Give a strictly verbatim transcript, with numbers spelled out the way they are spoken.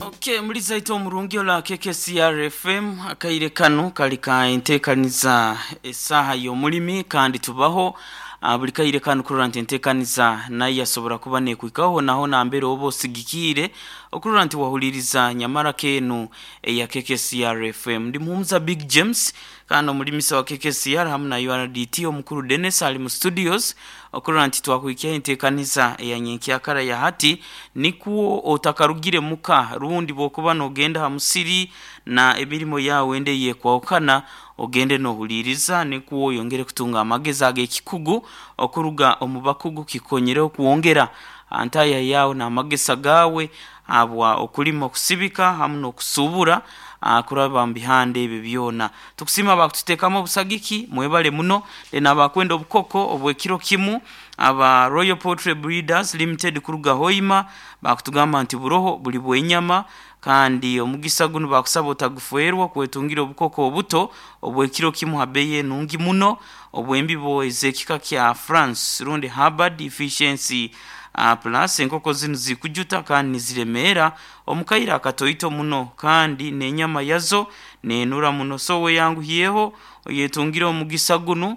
Okay, muri zaito omurungi ola K K C R F M, akaire kanu kali ka entekaniza esaha y'omulimi, kandi tubaho uh, buli kaire kanu kurora nti entekaniza nayo yasobora kuba nekwikaho naho nambere oba osigikiire okurora nti wahuliriza nyamara kenu eya K K C R F M. Ndi muhumuza Big James kandi omulimisa wa K K C R hamu na U R D T omukuru Dennis ali mu studios okurora nti twakuhikyaho entekaniza eya nyenkyakara ya hati, nikwo otakarugire muka rundi bwokuba nogenda ha musiri na emirimo yawe ende yekwahukana, ogende nohuliriza nikwo oyongere kutunga amagezi ag'ekikugu okuruga omu bakugu, kikonyereho kwongera antaya yawe n'amagesa gawe habwa okulima, okusibika hamu n'okusubura kuraba mu bihanda ebyo byona. Tukusiima bakututeekamu obusagiki, mwebale muno. Then abakwenda obukoko obw'ekiro kimu, aba Royal Poultry Breeders Limited kuruga Hoima bakutugamba nti buroho buli bw'enyama, kandi omugisa gunu bakusaba otaguferwa kwetungira obukoko obuto obw'ekiro kimu ha beeyi enungi muno, obw'embibo ez'ekika kya France rundi Hubbard Efficiency uh, Plus. Enkoko zinu zikujuta kandi niziremeera omu kaire akatoito muno, kandi n'enyama yazo nenura muno. So weyanguhyeho oyetungire omugisa gunu.